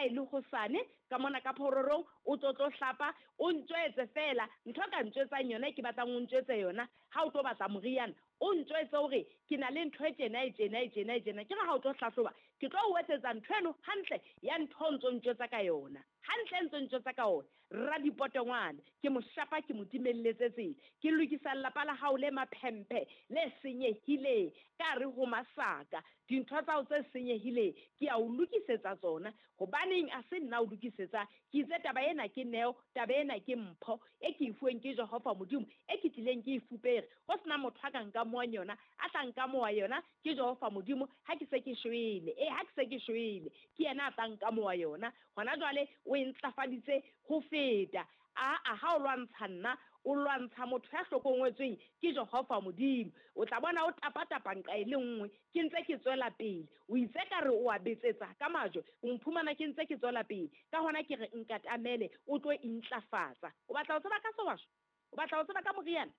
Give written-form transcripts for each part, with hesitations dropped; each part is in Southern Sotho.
Ha e le hosane ka mona ka phororong o tlo tlo hlapa, o ntjwetse feela ntho o ka ntjwetsang yona e ke batlang o ntjwetse yona ha o tlo batla moriana, o ntjwetse hore ke na le ntho e tjena e tjena e tjena e tjena. Ke re ha o tlo hlahloba ke tlo o etsetsa ntho eno hantle ya ntho o ntso ntjwetsa ka yona. Hantle ntso ntjwetsa ka ona. Radipotongwane, ke mo shapa ke mo timelletse tsela. Ke lokisa lelapa la hao le maphemphe le senyehileng ka hare ho masaka. Dintho tsa hao tse senyehileng ke a o lokisetsa tsona. Hobaneng a se nna o lokisetsang? Ke itse taba ena ke neo, taba ena ke mpho e ke e fuweng ke Jehova Modimo, e ke tlileng ke e fupere. Ho sena motho a ka nkamohang yona, a tla nkamoha yona ke Jehova Modimo ha ke se ke shwele. E, ha ke se ke shwele, ke yena a tla nkamoha yona. Hona jwale o e ntlafaditse ho feta. Aa, ha o lwantsha nna, o lwantsha motho ya hlokongwetsweng ke Jehova Modimo. O tla bona o tapatapa nqa e le nngwe, ke ntse ke tswela pele. O itse ka re o a betsetsa ka majwe, o mphumana ke ntse ke tswela pele. Ka hona ke re nkatamele, o tlo intlafatsa. O batla ho tseba ka sehwasho? O batla ho tseba ka moriana?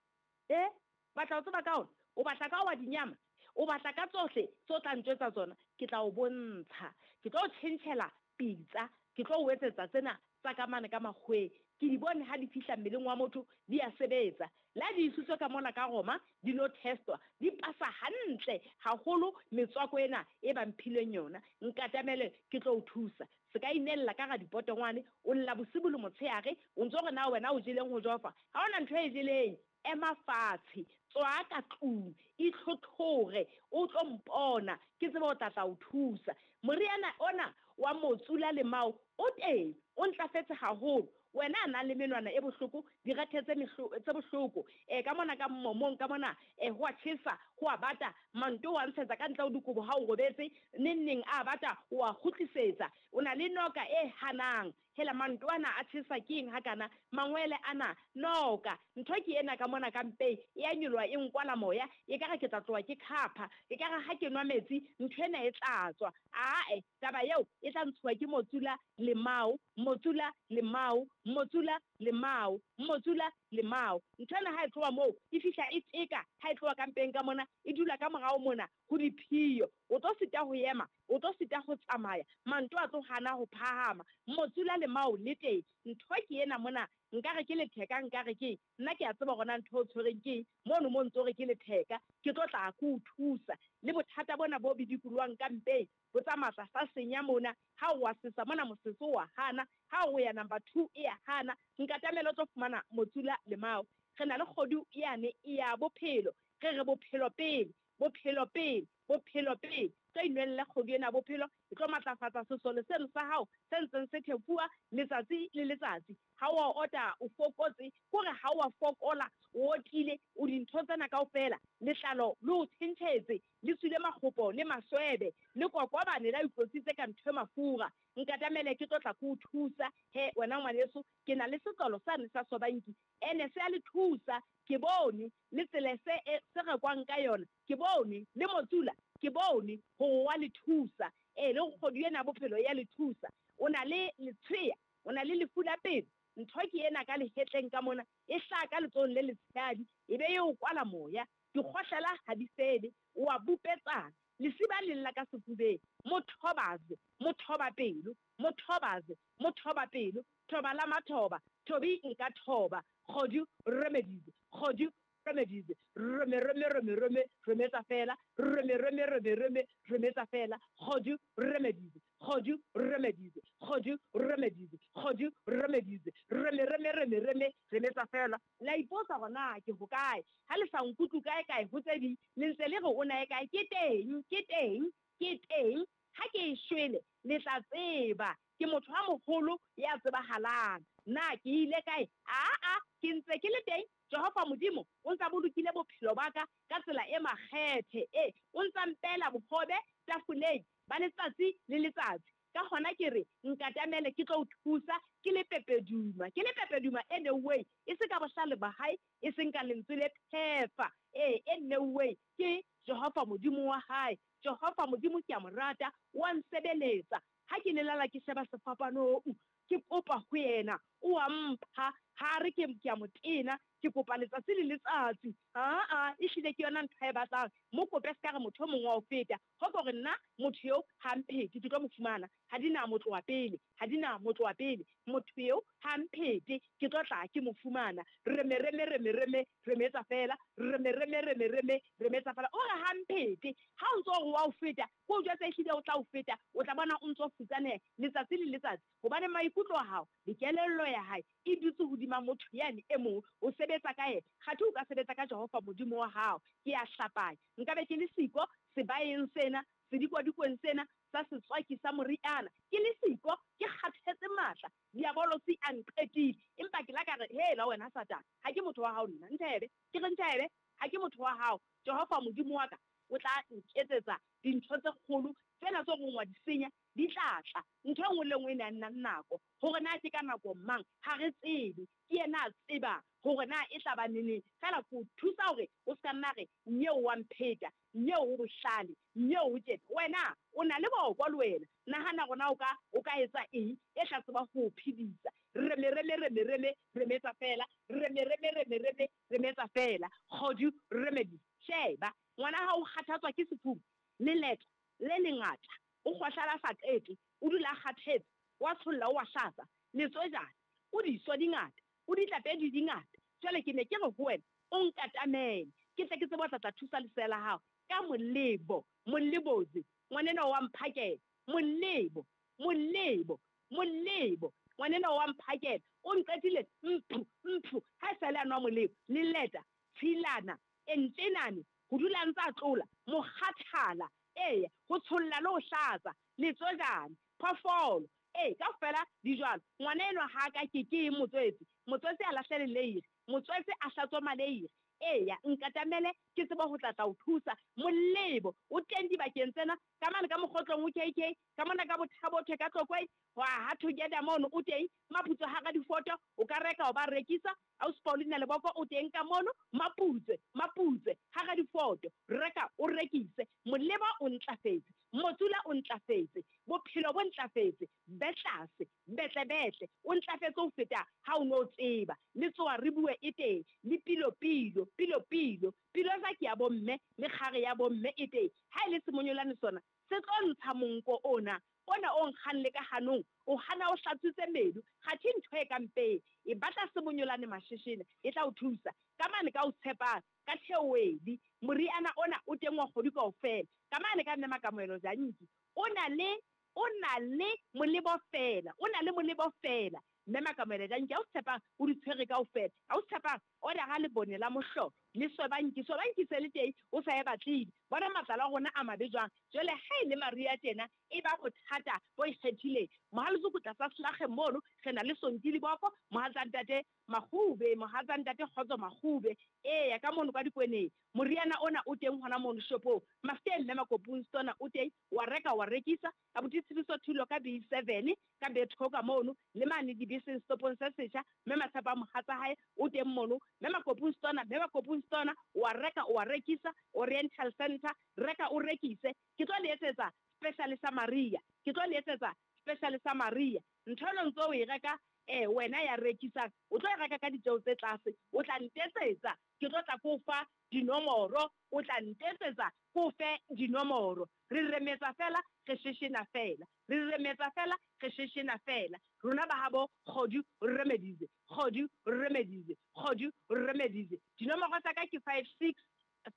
E, o batla ho tseba ka ona? O batla ka wa dinyama? O batla ka tsohle tse o tla ntjwetsa tsona? Ke tla o bontsha. Ke tlo o tjhentjhela pitsa. Ke tlo o etsetsa tsena tsa ka mane ka makgoweng. Ke di bone ha di fihla mmeleng wa motho, di a sebetsa. Le ha di isitswe ka mona ka Roma, di lo testwa, di pasa hantle haholo metswako ena e ba mphileng yona. Nkatamele ke tlo o thusa. Se ka inella ka radipotongwane, o lla bosibu le motshehare, o ntso re na wena o jeleng ho Jehova? Ha ho na ntho e jeleng. Ema fatshe, tswa ka tlung, itlhotlhore, o tlo mpona, ke tsebe ho tla tla o thusa. Moriana ona wa motsu la lemao o teng, o ntlafetse haholo. Wena a nang le menwana e bohloko, direthe tse tse bohloko, e ka mona ka mmomong ka mona, e ho a tjhesa, ho a bata, manto o a ntshetsa ka ntle ho dikobo ha o robetse, neng neng a bata, o a kgutlisetsa. O na le noka e hanang. Hela manto ana a tjhesa ke eng hakana? Mangwele ana, noka. Ntho ke ena ka mona ka mpeng, e a nyoloha e nkwala moya, ekare ke tla tloha ke khapha, ekare ha ke nwa metsi ntho ena e tla tswa. Aae, taba eo e tla ntshuwa ke Motsula Lemao, Motsula Lemao, Motsula Lemao, Motsula Lemao. Ntho ena ha e tloha moo e fihla e teka ha e tloha ka mpeng ka mona, e dula ka morao mona ho diphiyo. O tlo sita ho ema, o tlo sita ho tsamaya, manto a tlo hana ho phahama. Motsula Lemao le teng. Ntho ke ena mona, nkare ke letheka, nkare ke eng? Nna ke a tseba hore na ntho e o tshwereng ke eng, mono mo ntso re ke letheka, ke tlo tla ke o thusa. Le bothata bona bo bidikoloang ka mpeng, bo tsamaya tlasa senya mona, ha o a sesa mona mosese o a hana, ha o ya number two e a hana, nkatamele o tlo fumana Motsula Lemao. Re na le kgodu yane ya bophelo, re re bophelo pele, bophelo pele, bophelo pele. Tlo inwelle kgodu ena ya bophelo, e tlo matlafatsa sesole seno sa hao se ntseng se thefuwa letsatsi le letsatsi. Ha o a ota o fokotse, kore ha o a fokola, o otile, o dintho tsena kaofela, letlalo le o tjhentjhetse, le tswile makgopo le maswebe, le kokobane la itlotsitse ka ntho e mafura. Nkatamele ke tlo tla ke o thusa. He wena ngwaneso, ke na le setlolo sane sa sobanki, ene se a le thusa. Ke bone le tsela se e se rekwang ka yona, ke bone le motsula, ke bone hore wa le thusa. Ee, le kgodu ena ya bophelo e ya le thusa. O na le letshweya, o na le lefu la pelo, ntho ke ena ka lehetleng ka mona, e hlaha ka letsohong le letshehadi, e be e o kwala moya. Dikgohlela ha di fele, o a bupetsana, lesiba le lla ka sefubeng. Mo thobaze, mo thoba pelo, mo thobaze, mo thoba pelo, thoba la mathoba, thobi nka thoba, kgodu remedies, kgodu remedies, rome rome rome rome, rometsa fela, rome rome rome rome, rometsa fela, kgodu remedies, kgodu remedies, kgodu remedies, kgodu remedies, rome rome rome rome, rometsa fela. La ipotsa hore na ke hokae, ha le sa nkutlwe kae kae ho tse ding, le ntse le re o na e kae, ke teng, ke teng, ke teng, ha ke e shwele le tla tseba, ke motho a moholo ya tsebahalang. Na ke ile kae? Aa, ke ntse ke le teng. Jehova Modimo o ntse a bolokile bophelo ba ka ka tsela e makgethe. E, o ntse a mpeela bohobe tafoleng ba letsatsi le letsatsi. Ka hona ke re, Nkatamele, ke tlo o thusa. Ke le pepeduma, ke le pepeduma e neuweng, e se ka bohlale ba hae, e seng ka lentswe le phefa, e, e neuweng ke Jehova Modimo wa hae. Jehova Modimo ke a mo rata, o a nsebeletsa. Ha ke lelala ke sheba sefapanong, ke kopa ho yena, o a mpha. Ha a re ke, ke a mo tena. Ke kopa letsatsi le letsatsi. Aa, ehlile ke yona ntho a e batlang. Mo kope se ka re motho o mong wa o feta. Ho ko re nna motho eo ha mphete, ke tlo mo fumana. Ha di na mo tloha pele, ha di na mo tloha pele. Motho eo ha mphete, ke tlo tla ke mo fumana. Reme reme reme reme, remetsa feela. Reme reme reme reme, remetsa feela. O re ha mphete, ha o ntso re wa o feta, ke o jwetsa ehlile o tla o feta, o tla bona o ntso futsaneha letsatsi le letsatsi. Hobane maikutlo a hao le kelello ya hae e dutse hodima motho yane e mong, o sebetsa ka yena. Kgathe o ka sebetsa ka Jehova Modimo wa hao. Ke a hlapanya, nka be ke le siko sebaeng sena, sedikwadikong sena sa setswaki sa moriana. Ke le siko, ke kgathetse matla, diabolosi a nqetile. Empa ke la ka re, Hela wena Satane, ha ke motho wa hao nna. Nthebe. Ke re nthebe, ha ke motho wa hao. Jehova Modimo wa ka o tla nketsetsa dintho tse kgolo, tsena tseo reng wa di senya, di tla tla. Ntho e nngwe le e nngwe e na le nako. Hore na ke ka nako mang, ha re tsebe. Ke yena a tsebang hore na e tla ba neneng. Feela ke o thusa hore o se ka nna re, Nyeo wa mpheta, nyeo o bohlale, nyeo o tjena. Wena o na le boko le wena. Nahana hore na o ka, o ka etsa eng e tla tseba ho o phedisa. Reme, reme, reme, reme, remetsa feela. Reme, reme, reme, reme, remetsa feela. Kgodu, remedies. Sheba, ngwana hao o kgathatswa ke sefuba, leleta le lengata, o kgohlala a sa qete, o dula a kgathetse, o a tsholla, o a hlatsa, letswejana, o diso di ngata, o ditlapedi di ngata. Jwale ke ne ke re ho wena, o nkatamele, ke tle ke tsebe ho tla tla thusa lesea la hao ka molebo, molebozi, ngwanenwa wa mphakela, molebo, molebo, molebo, ngwanenwa wa mphakela, o nqetile mphu, mphu, ha e sale a nwa molebo, leleta, tshilana, entlenane, ho dula a ntse a tlola, mokgathala, eya, ho tsholla le ho hlatsa, letswejane, phoofolo, ee, kaofela di jwalo. Ngwana enwa ha a ka ke ke eng motswetse? Motswetse a lahle leleiri, motswetse a hlatswe maleiri, eya, nkatamele ke tsebe ho tla tla o thusa. Molebo o teng dibakeng tsena, ka mane ka Mokgotlong ho KK, ka mona ka Bothabothwe ka Tlokweng, hwa ha Together mono o teng, Maputswe hara difoto, o ka reka o ba rekisa, Ausi Paulina Leboko o teng ka mono, Maputswe, Maputswe, hara difoto, reka o rekise, Moleba o ntlafetse, Motsula o ntlafetse, bophelo bo ntlafetse, Betlase, Betlebetle, o ntlafetse ho feta ha o ne o tseba, le tsoa re bue e teng, le pilo pilo, pilo pilo, pilosa ke ya bomme, le kgare ya bomme e teng, ha e le semonyolane sona se tlo ntsha monko ona, ona o nkgang le ka hanong, o hana o hlatswitse meno, kgathe ntho e ka mpeng, e batla semonyolane masheshele, e tla o thusa. Ka mane ka o tshepang, ka theoedi, moriana ona o teng wa kgwedi kaofela. Ka mane ka Mme Makamohelo Janki, o na le, o na le molebo feela, o na le molebo feela. Mme Makamohelo Janki, ha o tshepang, o di tshwere kaofela. Ha o tshepang, Odara lebone la mohlolo le swebanki. Swebanki se le teng, o sa e batlile. Bona matlalo a rona a mabe jwang. Jwale ha e le mariha tjena, e ba bothata bo ikgethileng. Mohalzuku tlasa Slagge mono, re na le Sonti Liboko, mohatsa ntate Makgube, mohatsa ntate Kgotso Makgube. Eya, ka mono ka Dikweneng. Moriana ona o teng hona mono shopong. Mafteng Mme Makopung Stona o teng, wa reka wa rekisa. Abuti Tshidiso Thulo ka B7 ka Bethoka mono, le mane dibeseng setopong se setjha, Mme Matshepo a mohatsa hae o teng mono, Mme Makopung Stona, Mme Makopung Stona, o a reka o a rekisa, Oriental Centre, reka o rekise, ke tlo le etsetsa special sa Maria, ke tlo le etsetsa special sa Maria, ntho eno ntso o e reka eh wena ya rekisang, o tlo e reka ka ditjeo tse tlase, o tla ntetsetsa, ke tlo tla ke o fa dinomoro, o tla ntetsetsa ke o fe dinomoro. Re remetsa feela, re sheshena feela. Re remetsa feela, re sheshena feela. Rona ba habo Kgodu re remedize, Kgodu re remedize, Kgodu re remedize. Dinomoro tsa ka ke 56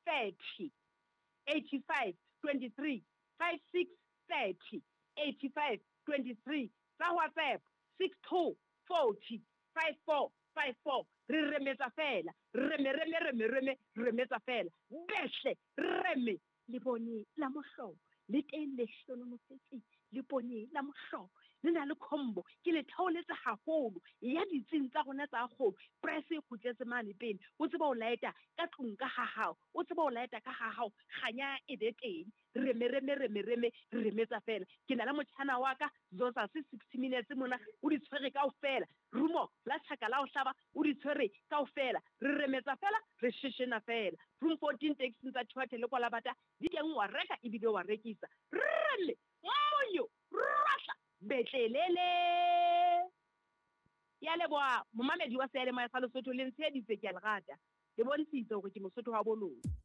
30 85 23, 56 30 85 23. Tsa WhatsApp 62 40 54 54. Re remetsa feela, reme reme reme reme, remetsa feela. Behle, reme. Lebone la mohlolo le teng le hlonolofetseng, lebone la mohlolo le na le combo, ke le theoletse haholo ya ditsing tsa rona tsa kgolo. Press e kgutletse mane pele, o tsebe ho laeta ka tlung ka ha hao, o tsebe ho laeta ka ha hao, kganya e be teng. Reme reme reme reme, re remetsa feela. Ke na le motjhana wa ka Zozase 60 minutes mona, o di tshwere kaofela. Rumo la tjhaka la ho hlaba o di tshwere kaofela. Re remetsa feela, re sheshena feela. Room 14 taxing tsa Thuathe le Kwalabata di teng wa reka ebile wa rekisa. Rrele, monyo, rwahla, betlelele. Ke a leboha momamedi wa seyalemoya sa Lesotho, le ntsheheditse, ke a le rata. Le bontshitse hore ke Mosotho wa bo lona.